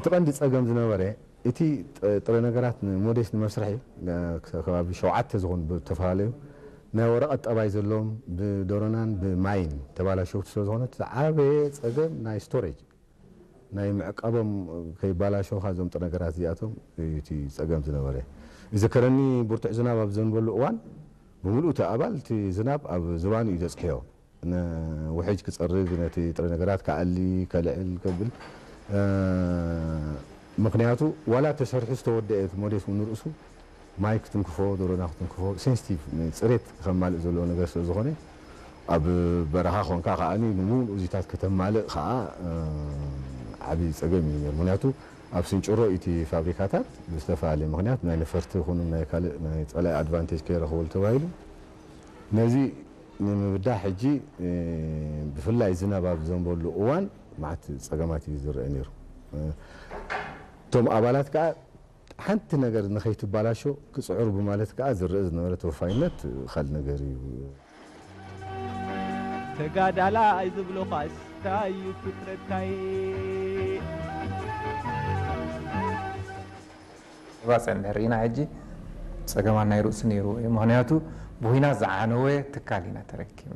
እቲ ቀንዲ ጸገም ዝነበረ፣ እቲ ጥ- ጥረ ነገራት ንሞዴስ ንመስርሒ፣ እ፣ ክሳብ ከባቢ ሸውዓተ ዝኾኑ ብዝተፈላለዩ ናይ ወረቐት ጠባይ ዘለዎም፣ ብደሮናን ብማይን ተባላሸውቲ ስለ ዝኾነ፣ እቲ ዝዓበየ ጸገም ናይ ስቶሬጅ፣ ናይ ምዕቃቦም ከይባላሸውኻ እዞም ጥረ ነገራት እዚኣቶም እዩ እቲ ጸገም ዝነበረ። ይዝከረኒ፣ ብርቱዕ ዝናብ ኣብ ዘንበሉ እዋን፣ ብምሉእ እቲ ኣባል እቲ ዝናብ ኣብ ዝባኑ እዩ ዘጽሕዮ። ንውሕጅ ክጸርግ፣ ነቲ ጥረ ነገራት ክኣሊ፣ ከልዕል ከብል፣ እ፣ ምኽንያቱ ዋላ ተሰርሑ ዝተወደአ እቲ ሞዴስ እውን ንርእሱ ማይ ክትንክፎ፣ ደሮና ክትንክፎ፣ ሴንሲቲቭ፣ ንጽሬት ከማልእ ዘለዎ ነገር ስለ ዝኾነ፣ ኣብ በረኻ ኾንካ ከኣ ንሙሉእ እዚታት ከተማልእ ከኣ፣ እ፣ ዓቢ ጸገም እዩ ነይሩ። ምኽንያቱ ኣብ ስንጭሮ እቲ ፋብሪካታት ብዝተፈላለየ ምኽንያት ናይ ነፈርቲ ይኹኑ ናይ ካልእ ናይ ጸላኢ ኣድቫንቴጅ ከይረኽበሉ ተባሂሉ፣ ነዚ ንምብዳህ ሕጂ፣ እ፣ ብፍላይ ዝናብ ኣብ ዘንበሉ እዋን መዓት ጸገማት እዩ ዝረአ ነይሩ። እ፣ እቶም ኣባላት ከኣ ሓንቲ ነገር ንኸይትባላሾ ክጽዕሩ ብማለት ከኣ ዝረአ ዝነበረ ተወፋይነት ካልእ ነገር እዩ። ተጋዳላይ ዝብሉኻስ እንታይ እዩ ፍጥረትካይ? ባፅዕ እንድሕር ኢና ሕጂ ፀገማት ናይ ርእሱ ነይሩ እዩ። ምኽንያቱ ብኹናት ዝዓነወ ትካል ኢና ተረኪብና።